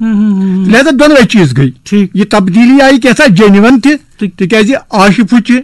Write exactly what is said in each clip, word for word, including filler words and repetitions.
لہذا دۄنوَے چیٖز گٔے۔ ٹھیٖک۔ یہِ تبدیٖلی آیہِ کینٛژھا جینوَن تہِ، تہٕ تِکیٛازِ آشہِ پھُچہِ،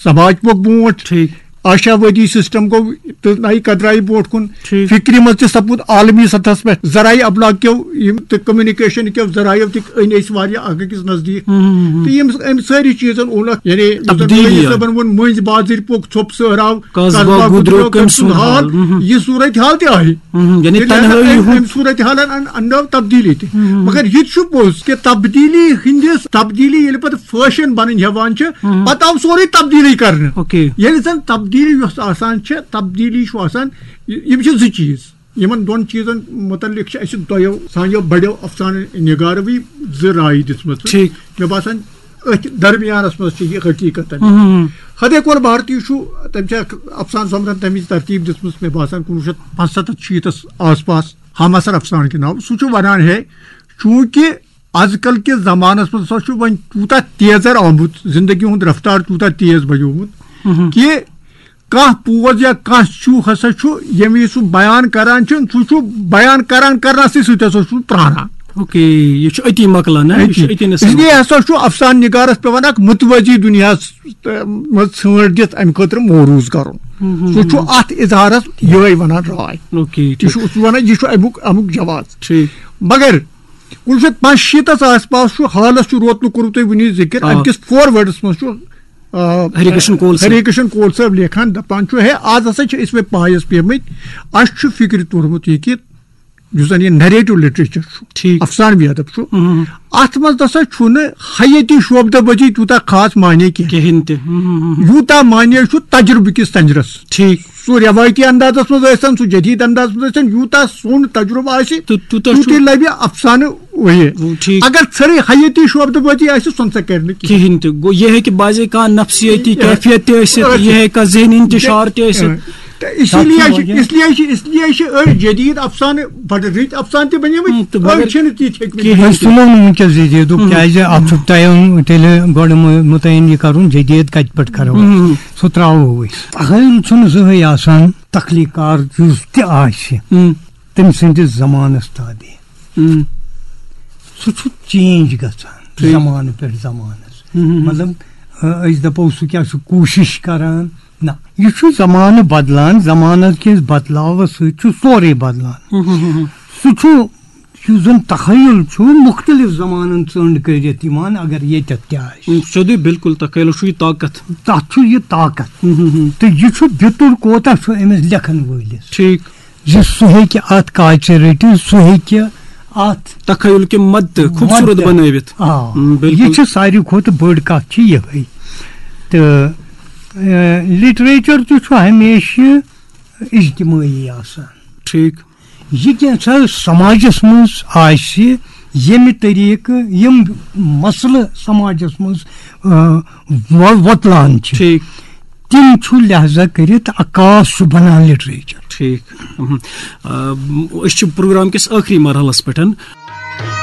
سماج پوٚک برونٛٹھ، ٹھیٖک۔ آشاوٲدی سسٹم گوٚو تہٕ نَیہِ قدرایہِ برونٛٹھ کُن۔ ٹھیٖک۔ فکرِ منٛز تہِ سپُد عالمی سطحس پٮ۪ٹھ ذرائع ابلاغ کیو یِم تہٕ کمیونیکیشن کیو ذرائعو تہِ أنۍ أسۍ واریاہ اکھ أکِس نزدیٖک۔ ہم، ہم، ہم۔ تہٕ یِم، أمۍ سٲری چیٖزن اوٚنکھ، یعنی یُس زن تبدیٖلی مولوی آیہِ۔ صٲبن ووٚن، مٔنٛزۍ بازٕرۍ پوٚک ژھوٚپ سہراو، قصبہ قصبہ گُدریو گُدریو کٔمۍ کٔمۍ سُنٛد سُنٛد حال؟ حال؟ ہم۔ یہِ صورت حال تہِ آیہِ۔ ہم، یعنی ییٚلہِ تنہٲیی ہسا ہُنٛد أمۍ صورت حالن ان-، اننٲو تبدیٖلی تہِ۔ ہم۔ مگر یہِ تہِ چھُ پوٚز کہِ تبدیٖلی ہٕنٛدِس، تبدیٖلی ییٚلہِ پتہٕ فیشن بنٕنۍ ہٮ۪وان چھِ، ہم۔ پتہٕ آو سورُے تبدیٖلی کرنہٕ۔ اوکے۔ ییٚلہِ زن تبدیٖلی یۄس آسان چھِ، تبدیٖلی چھُ آسان، یہِ-، یِم چھِ زٕ چیٖز۔ یِمن دۄن چیٖزن مُتعلق چھِ اَسہِ دۄیو سانیو بڑیو افسانہٕ نگاروٕے زٕ رایہِ دِژمٕژ۔ ٹھیٖک۔ مےٚ باسان، أتھۍ درمیانس منٛز چھِ یہِ حقیٖقت۔ ہم، ہم، ہم۔ ہدے کول بھارتی چھُ، تٔمۍ چھِ اکھ افسانہٕ سۄمبرن تَمِچ ترتیٖب دِژمٕژ، مےٚ باسان، کُنوُہ شیٚتھ پانٛژستتھ شیٖتس آس پاس۔ ہم اثر افسانہٕ کے ناو۔ سُہ چھُ ونان ہے، چوٗنٛکہِ از کل کِس زمانس منٛز ہسا چھُ وۄنۍ تیوٗتاہ تیزر آمُت، زندگی ہُنٛد رفتار تیوٗتاہ تیز بنیومُت، ہم، ہم۔ کہِ کانٛہہ پوز یا کانٛہہ چھُو ہسا چھُ، ییٚمہِ وِزِ سُہ بیان کران چھُ، سُہ چھُ بیان کران کرنَسٕے سۭتۍ ہسا چھُ پرٛاران۔ اوکے، یہِ چھُ أتی مۄکلان، نہ؟ یہِ چھُ أتی۔ أتی نہٕ اس لیے سمجھ۔ ہسا چھُ افسانہٕ نگارس پٮ۪وان اکھ متوازی دُنیاہس، تہٕ، منٛز ژھٲنٛٹ دِتھ امہِ خٲطرٕ موروٗض کرُن۔ ہم، ہم، سُہ چھُ ہم۔ اتھ اظہارس یِہوٚے ونان راے۔ اوکے، یہِ ٹھیٖک۔ چھُ، سُہ ونان، یہِ چھُ امیُک، امیُک جواز۔ ٹھیٖک۔ مگر کُنوُہ شیٚتھ پانٛژشیٖتس آس پاس چھُ حالس چھُ روتلہٕ کوٚرمُت تۄہہِ وُنی ذِکر، آ۔ امہِ کِس فور ورڈس منٛز چھُ آ، ہری کرشن کول صٲب۔ ہری کرشن کول صٲب لیکھان، دپان چھُ، ہے، آز ہسا چھِ أسۍ وۄنۍ پایس پیمٕتۍ، اَسہِ چھُ فکرِ توٚرمُت یہِ کہِ یُس زن یہِ نریٹو لٹریچر چھُ، ٹھیٖک۔ افسانوی ادب چھُ، ہم۔ اتھ منٛز نسا چھُنہٕ حیٲتی شعبدٕ بٔدی تیوٗتاہ خاص معنی کینٛہہ۔ کِہیٖنۍ تہِ۔ ہم، ہم، ہم، ہم۔ یوٗتاہ معنی چھُ تجربہٕ کِس تنجرس۔ ٹھیٖک۔ سُہ رٮ۪وٲیتی اندازس منٛز ٲسۍتن، سُہ جدید اندازس منٛز ٲسۍتن، یوٗتاہ سون تجربہٕ آسہِ، تہٕ تیوٗتاہ چھُ تیوٗتٕے لبہِ افسانہٕ وۄنۍ۔ ٹھیٖک۔ اگر ژھرٕے حیٲتی شعبدٕ بٲتی آسہِ، سۄ نسا کرِ نہٕ کینٛہہ۔ کِہیٖنۍ تہِ۔ گوٚو، یہِ ہیٚکہِ بعضے کانٛہہ نفسیٲتی کینٛہہ۔ کیفیت تہِ ٲسِتھ، ٲسِتھ۔ یہِ ہیٚکہِ کانٛہہ ذہنی انتشار تہِ ٲسِتھ۔ تہٕ اسی تَتھ لیے چھُ چھِ، واریاہ۔ اس لیے چھِ، اس لیے چھِ أڑۍ جدید افسانہٕ بڑٕ رٕتۍ افسانہٕ تہِ بنیمٕتۍ، ہم، تہٕ أڑۍ مگر چھِنہٕ تِتھۍ ہیٚکمٕتۍ کِہیٖنۍ۔ بٔنِتھ۔ أسۍ تُلو نہٕ وٕنکیٚس جدیدُک، ہم۔ کیازِ اتھ چھُ ٹایم تیٚلہِ گۄڈٕ مُ-، مُتعین یہِ کرُن، جدید کتہِ پٮ۪ٹھ کرو؟ ہم۔ سُہ ترٛاوو أسۍ۔ تخیل چھُنہٕ زٕہٕے آسان، تخلیٖق کار یُس تہِ آسہِ، ہم۔ تٔمۍ سٕنٛدِس زمانس تابع۔ ہم۔ سُہ چھُ چینج گژھان ٹھیٖک۔ زمانہٕ پٮ۪ٹھ زمانس۔ ہم، ہم، ہم۔ مطلب، أ، أسۍ دپو سُہ کیٛاہ چھُ کوٗشش کران؟ نہ، یہِ چھُ زمانہٕ بدلان، زمانس کِس بدلاوس سۭتۍ چھُ سورُے بدلان۔ ہم، ہم، ہم، ہم۔ سُہ چھُ، یُس زن تخیل چھُ، مُختٔلِف زمانن ژٔنٛڈ کٔرِتھ یِوان، اگر ییٚتٮ۪تھ تہِ آسہِ۔ ہم، سیوٚدُے، بالکل، تخیلس چھُ یہِ طاقت۔ تتھ چھُ یہِ طاقت۔ ہم، ہم، ہم۔ تہٕ یہِ چھُ بیتُر کوتاہ چھُ أمِس لیکھن وٲلِس۔ ٹھیٖک۔ زِ سُہ ہیٚکہِ اَتھ کاژِ رٔٹِتھ، سُہ ہیٚکہِ اَتھ تخیل کہِ مدتہٕ خوٗبصوٗرت مدتہٕ۔ بنٲوِتھ۔ آ، ہم، بِلکُل۔ یہِ چھِ ساروی کھۄتہٕ بٔڑ کَتھ چھِ یِہوٚے۔ تہٕ، اے، لِٹریچر تہِ چھُ ہمیشہِ اجتمٲعی آسان۔ ٹھیٖک۔ یہِ کینٛژھا سماجس منٛز آسہِ، ییٚمہِ طریٖقہٕ یِم مسلہٕ سماجس منٛز، آ، وۄ-، وۄتلان چھِ، ٹھیٖک۔ تِم چھُ لحاظہ کٔرِتھ عکاس چھُ بنان لِٹریچر۔ ٹھیٖک۔ اہم۔ آ، أسۍ چھِ پروگرام کِس ٲخری مرحلس پٮ۪ٹھ۔